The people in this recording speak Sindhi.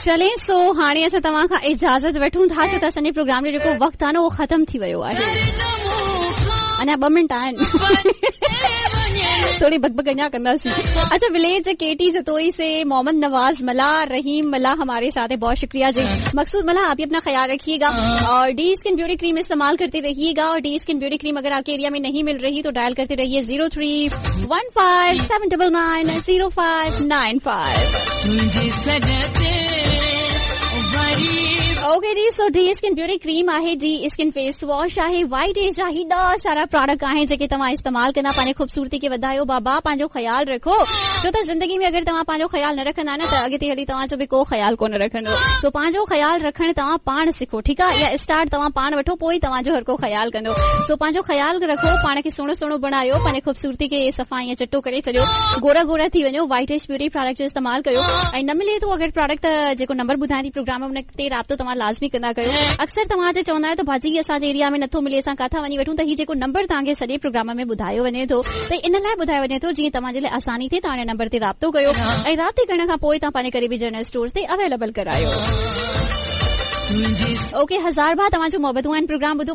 چلين سو هاڻي اسان توهان کان اجازت وٺون ٿا ڇو ته اسان جي پروگرام جو جيڪو وقت آهي نه اهو ختم ٿي ويو آهي. اڃا ٻه منٽ آهن. ٿوري بڪ بڪ اڃا ڪنداسين. اڇا وليج ڪيٽي جتوئي سي محمد نواز ملاح رحيم ملاح هماري ساٿ هي بهت شڪريه جي مقصود ملاح آپ به اپنا خيال رکيي گا اور ڊي اسڪن بيوٽي ڪريم استعمال ڪرتي رهيي گا اور ڊي اسڪن بيوٽي ڪريم اگر آپ ڪي ايريا ۾ نهين مل رهي تو ڊائل ڪرتي رهيي 0315 799 0595. اوڪي جي سو ڊي اسڪن بيوٽي ڪريم آهي ڊي اسڪن فيس واش آهي وائٽ ايج جا هيڏا سارا پراڊڪٽ آهن جيڪي توهان استعمال ڪندا پنهنجي خوبصورتي کي وڌايو بابا پنهنجو خيال رکو ڇو ته زندگي ۾ اگر توهان پنهنجو خيال نه رکندا نه ته اڳتي هلي توهان جو به ڪو خيال ڪونه رکندو سو پنهنجو خيال رکڻ توهان پاڻ سکو ٺيڪ آهي يا اسٽارٽ توهان پاڻ وٺو پوء ئي توهان جو هر ڪو خيال ڪندو سو پنهنجو خيال رکو پاڻ کي سهڻو سهڻو بڻايو پنهنجي خوبصورتي کي صفا ائين چٽو ڪري ڇڏيو گورا گورا ٿي وڃو وائٽ ايج بيوٽي پراڊڪٽ جو استعمال ڪيو ۽ نه ملي ٿو اگر پراڊڪٽ ته جيڪو نمبر ٻڌايان ٿي پروگرام ۾ ان تي رابطو توهان لازمي ڪندا ڪيو اڪثر توهان جي چوندا آهيو ته باجي اسان جي ايريا ۾ نٿو ملي اسان ڪاٿان وڃي وٺون ته هي جيڪو نمبر توهان کي سڄي پروگرام ۾ ٻڌايو وڃي ٿو ته ان لاء ٻڌايو وڃي ٿو جيئن توهان جي لاء آساني ٿئي توهان ان نمبر تي رابطو ڪيو ۽ رابطي ڪرڻ کان پوء توهان پنهنجي قريبي جنرل اسٽور تي اويليبل ڪرايو. اوڪي هزار بار توهان جون محبتون آهن پروگرام ٻڌو.